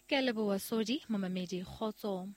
Ke a leboha Sodi, momamedi kgotso.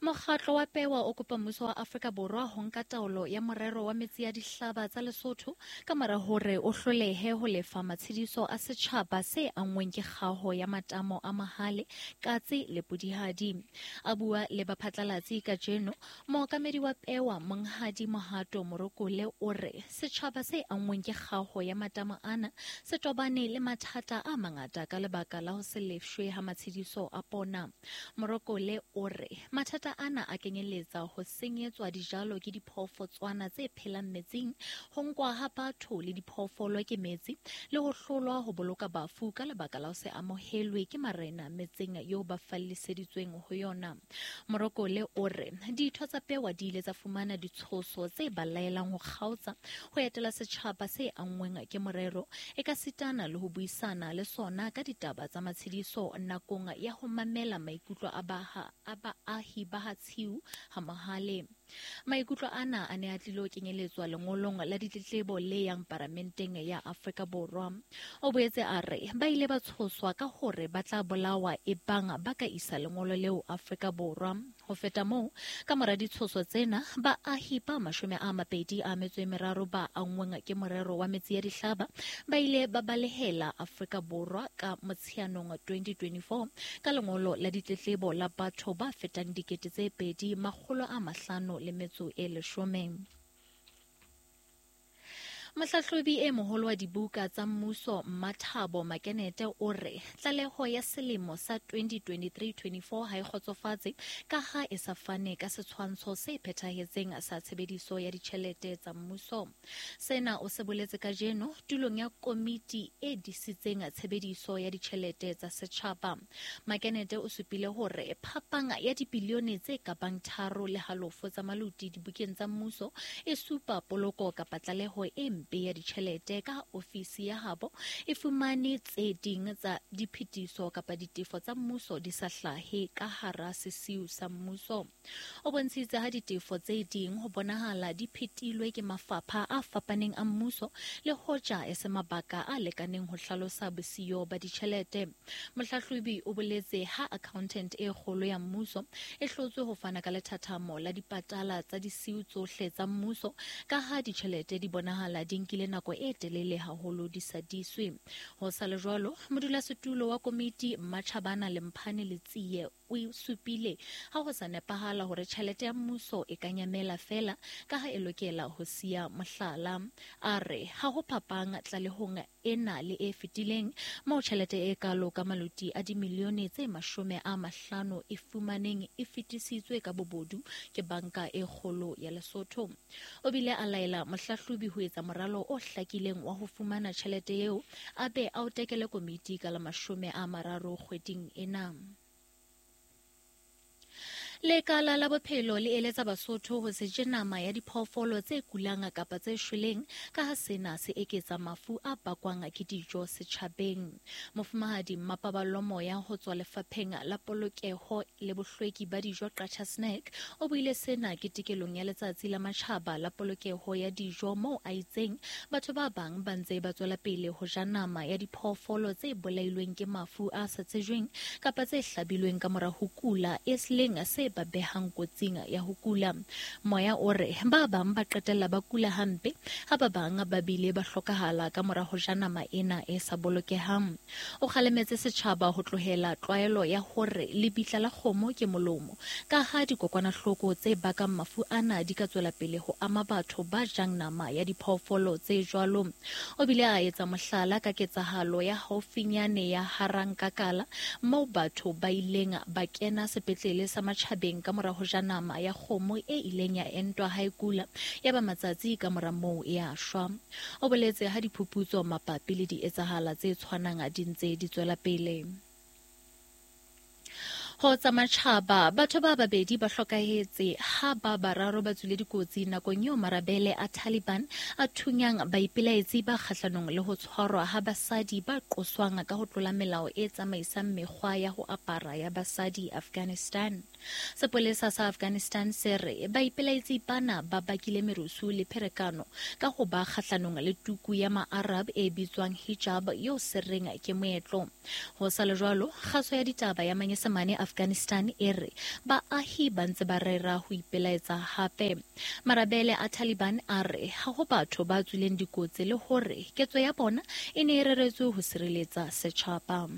Mokgatlo wa Pewa o kopa mmuso wa Afrika Borwa ho nka taolo ya morero wa metsi ya dihlaba tsa Lesotho ka mora hore o hlolehe ho lefa matshediso a setjhaba se anngweng ke kgaho ya matamo a Mahale, Katse le Pudihadi. A bua le baphatlalatsi kajeno, mookamedi wa Pewa Monghadi Mohato Morokole o re setjhaba se anngweng ke kgaho ya matamo ana se tobane le mathata a mangata ka lebaka la ho se lefshwe ha matshediso a pona. Morokole o re mathata ana a kenyeletsa ho senyetswa dijalo ke diphoofotswana tse phelang metsing, ho nkwa ha batho le diphoofolo ke metsi, le ho hlolwa ho boloka bafu ka lebaka la ho se amohelwe ke marena metseng eo ba falliseditsweng ho yona. Morokole o re ditho tsa Pewa di ile tsa fumana ditshoso tse ba laelang ho kgaotsa ho etela setjhaba se anngweng ke morero, ekasitana le ho buisana le sona ka ditaba tsa matshediso nakong ya ho mamela maikutlo a baahi ba ha Tshiu ha Mohale. Maikutlo ana a ne a tlilo kenyeletswa lengolong la ditletlebo le yang paramenteng ya Afrika Borwa. O boetse a re ba ile ba tshoswa ka hore ba tla bolawa ebang ba ka isa lengolo leo Afrika Borwa. Ho feta moo, ka mora ditshoso tsena, baahi ba 23 ba anngweng ke morero wa metsi ya dihlaba ba ile ba balehela Afrika Borwa ka Motsheanong 2024 ka lengolo la ditletlebo la batho ba fetang 2,510. Mohlahlobi e moholo wa dibuka tsa mmuso Mmathabo Makenete o re tlaleho ya selemo sa 2023-24 ha e kgotsofatse ka ha e sa fane ka setshwantsho se phethahetseng sa tshebediso ya ditjhelete tsa mmuso. Sena o se boletse kajeno tulong ya komiti e disitseng tshebediso ya ditjhelete tsa setjhaba. Makenete o supile hore phapang ya dibilione tse ka bang 3.5 tsa maluti dibukeng tsa mmuso e supa poloko kapa tlaleho e mpe ya ditjhelete ka ofisi ya habo e fumane tse ding tsa diphetiso kapa ditefo tsa mmuso di sa hlahe ka hara sesiu sa mmuso. O bontshitse ha ditefo tse ding ho bonahala di phetilwe ke mafapha a fapaneng a mmuso le hoja e se mabaka a lekaneng ho hlalosa bosiyo ba ditjhelete. Mohlahlobi o boletse ha accountant e kgolo ya mmuso e hlotswe ho fana ka lethathamo la dipatala tsa disiu tsohle tsa mmuso ka ha ditjhelete di bonahala di nkile nako e telele haholo di sa diswe. Ho sa le jwalo, modulasetulo wa komiti Mmatjhabana Lemphane Letsie o supile ha ho sa nepahala hore tjhelete ya mmuso e ka nyamela feela ka ha e lokela ho siya mohlala. A re ha ho phapang tlalehong ena le e fetileng moo tjhelete e kalo ka maluti a dimilione tse 50 e fumaneng e fetisitswe ka bobodu ke banka e kgolo ya Lesotho. O bile a laela mohlahlobi ho etsa moralo o hlakileng wa ho fumana tjhelete eo a be a o tekele komiti ka la 30 kgweding ena. Lekala la bophelo le eletsa Basotho ho se je nama ya diphoofolo tse kulang kapa tse shweleng ka ha sena se eketsa mafu a bakwang ke dijo setjhabeng. Mofumahadi Mmapaballo Moya ho tswa lefapheng la polokeho le bohlweki ba dijo Qacha Snack o buile sena ketekelong ya letsatsi la matjhaba la polokeho ya dijo moo a itseng batho ba bang ba ntse ba tswela pele ho ja nama ya diphoofolo tse bolailweng ke mafu a sa tsejweng kapa tse hlabilweng ka mora ho kula e leng se ba behang kotsing ya ho kula. Moya o re ba bang ba qetella ba kula hampe ha ba bang ba bile ba hlokahala ka mora ho ja nama ena e sa bolokehang. O kgalemetse setjhaba ho tlohela tlwaelo ya hore lebitla la kgomo ke molomo ka ha dikokwanahloko tse bakang mafu ana di ka tswela pele ho ama batho ba jang nama ya diphoofolo tse jwalo. O bile a etsa mohlala ka ketsahalo ya haufinyane ya Harankakala moo batho ba ileng ba kena sepetlele sa matjhabeng ka mora ho ja nama ya kgomo e ileng ya entwa ha e kula ya ba matsatsi ka mora moo e a shwa. O boletse ha diphuputso mabapi le dietsahala tse tshwanang di ntse di tswela pele. Ho tsa matjhaba, batho ba babedi ba hlokahetse ha ba bararo ba tswile dikotsi nakong eo marabele a Taliban a thunyang baipelaetsi ba kgahlanong le ho tshwarwa ha basadi ba qoswang ka ho tlola melao e tsamaisang mekgwa ya ho apara ya basadi Afghanistan. Sepolesa sa Afghanistan se re baipelaetsi bana ba bakile merusu le pherekano ka ho ba kgahlanong le tuku ya ma-Arab e bitswang hijab eo se reng ke moetlo. Ho sa le jwalo, kgaso ya ditaba ya Manyesemane Afghanistan e re baahi ba ntse ba rera ho ipelaetsa hape. Marabele a Taliban a re ha ho batho ba tswileng dikotsi le hore ketso ya bona e ne e reretswe ho sireletsa setjhaba.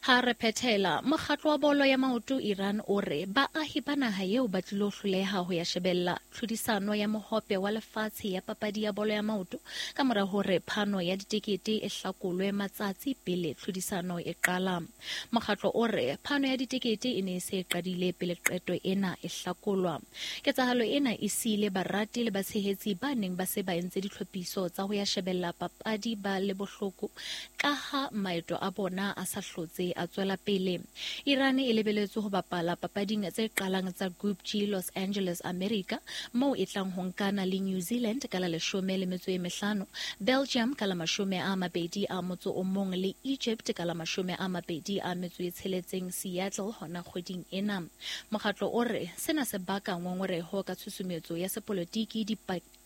Ha re phethela, mokgatlo wa bolo ya maoto Iran o re baahi ba naha eo ba tlilo hloleha ho ya shebella tlhodisano ya mohope wa lefatshe ya papadi ya bolo ya maoto ka mora hore phano ya ditekete e hlakolwe matsatsi pele tlhodisano e qala. Mokgatlo o re phano ya ditekete e ne e se e qadile pele qeto ena e hlakolwa. Ketsahalo ena e siile barati le batshehetsi ba neng ba se ba entse ditlhophiso tsa ho ya shebella papadi ba le bohloko kaha maeto a bona a sa hlotse a tswela pele. Iran e lebeletswe ho bapala papading tse qalang tsa Group G Los Angeles, America, moo e tlang ho nkana le New Zealand ka la 15, Belgium ka la 21 le Egypt ka la 26 Seattle hona kgweding ena. Mokgatlo o re sena se baka ngongoreho ka tshusumetso ya sepolotiki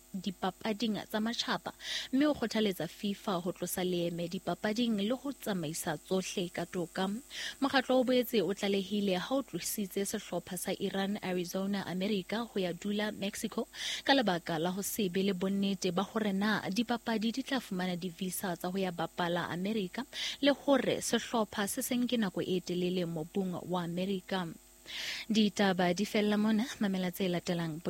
dipapading tsa matjhaba mme o kgothaletsa FIFA ho tlosa leeme dipapading le ho tsamaisa tsohle ka toka. Mokgatlo o boetse o tlalehile ha o tlositse sehlopha sa Iran Arizona, America ho ya dula Mexico ka lebaka la ho se be le bonnete ba hore na dipapadi di tla fumana di-visa tsa ho ya bapala America le hore sehlopha se se nke nako e telele mobung wa America. Ditaba di fella mona, mamela tse latelang.